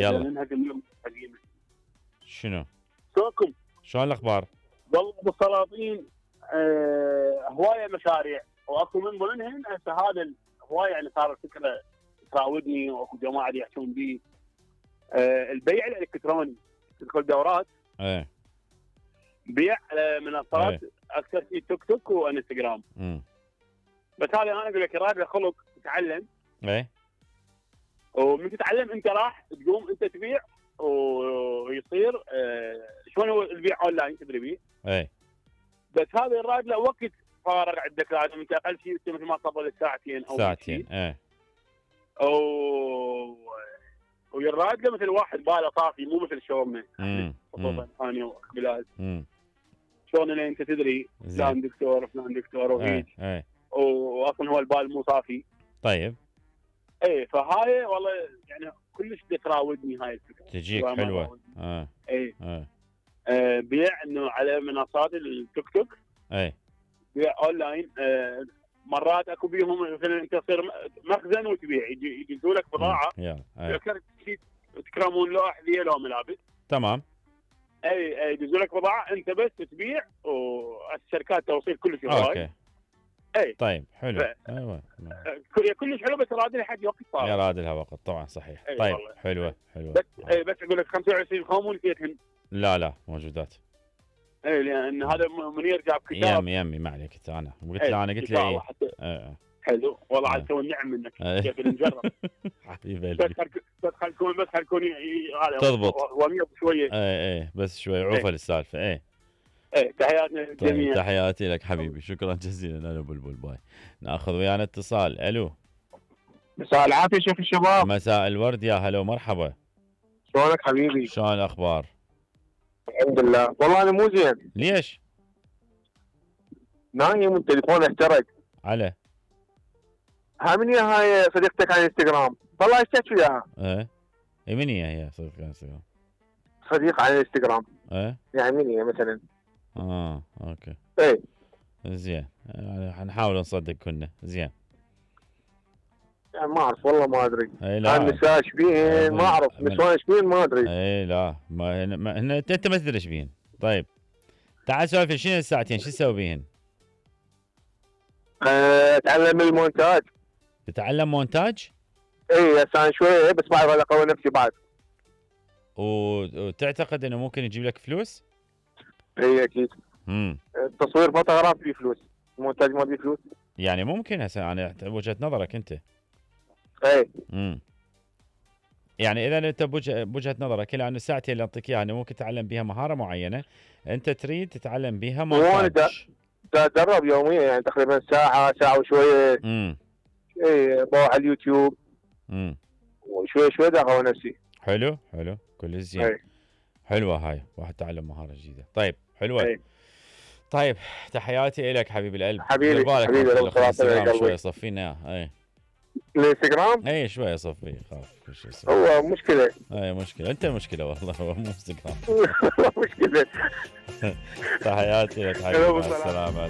يلا منها دمية قديمة. شنو؟ شلونكم؟ شلون الاخبار؟ والله بالسلاطين هواية مشاريع واكو من ضمنهن هسه هذا الهواية يعني صار فكرة تراودني واكو جماعة يحكون به البيع الالكتروني. تدخل دورات ايه بيع على منصات ايه اكثر شيء تيك توك وانستغرام. بس هذا انا اقول لك راد خلق تتعلم. ايه ومن تتعلم انت راح تقوم انت تبيع ويصير شلون هو البيع اونلاين تدري بيه. ايه بس هذا الراد له وقت فارغ عندك لازم انت اقل شيء مثل ما قبل ساعتين او ساعتين. ايه ويراد له مثل واحد باله طافي مو مثل شلوننا خصوصا انا وبلال شلون اللي انت تدري فلان دكتور فلان دكتور وهيك واصلا هو البال مو صافي. طيب ايه فهاي والله يعني كلش تراودني هاي الفكره تجيك حلوه. بيع انه على منصات التيك توك. بيع اونلاين. مرات اكو بيهم مثلا انت تصير مخزن وتبيع يجيزوا لك بضاعه تكرمون له احذيه لو ملابس. تمام. اي يجيزوا لك بضاعه انت بس تبيع والشركات توصيل كلش اوكي. اي طيب حلو. ايوه كلش حلو بس راد لها حد وقت صار. راد لها وقت طبعا صحيح. طيب والله. حلوه بس اقول لك 25 خام ونسيتهن. لا موجودات. اي لان هذا منير جاب كتاب يمي ما عليك انا قلت له انا قلت له حلو والله عاد تو النعم منك كيف نجرب حبيبي بس خلكوني تضبط وميض شويه. ايه بس شوي عوفه للسالفه. ايه تحياتنا للجميع. تحياتي لك حبيبي شكرا جزيلا. انا بلبل باي. ناخذ ويانا اتصال. الو مساء العافيه شيخ الشباب. مساء الورد يا هلا ومرحبا. شلونك حبيبي؟ شلون الاخبار؟ الحمد لله. والله انا مو زين. ليش؟ نايم والتليفون احترق. على من هاي صديقتك على الانستغرام والله اشتكت وياها. ايه من هي صديقتك على الانستغرام؟ صديق على الانستغرام. يعني من هي مثلا؟ اوكي. ايه زين حنحاول نصدق كنا. زين يعني ما اعرف والله ما ادري. لا النساء شبيهن ما اعرف نسوان شبيهن ما ادري. لا انت ما تدري شبيهن. طيب تعال سولف شنو الساعتين شو تسوي بيهن؟ اتعلم المونتاج. تتعلم مونتاج؟ اي هسه شويه بس بعرف اقوي نفسي بعد. وتعتقد انه ممكن يجيب لك فلوس؟ اي اكيد. تصوير فوتوغراف فيه فلوس، المونتاج ما فيه فلوس. يعني ممكن هسه انا وجهة نظرك انت. اي يعني اذا انت بوجهة نظرك لان الساعتين اللي اعطيك اياها ممكن تتعلم بها مهارة معينة، انت تريد تتعلم بها مونتاج. اتدرب يوميا يعني تقريبا ساعة وشوية. اي بروح على اليوتيوب. وشوي اقوي نفسي. حلو كل زين. حلوة هاي واحد تعلم مهارة جديدة. طيب حلوة. طيب تحياتي لك حبيب القلب. حبيبي شوية صفينا اياه. الانستغرام؟ اي شوية صفي خاف هو مشكلة. مشكلة انت مشكلة والله هو مو انستغرام. مشكلة. تحياتي لك حبيبي. مع السلامة.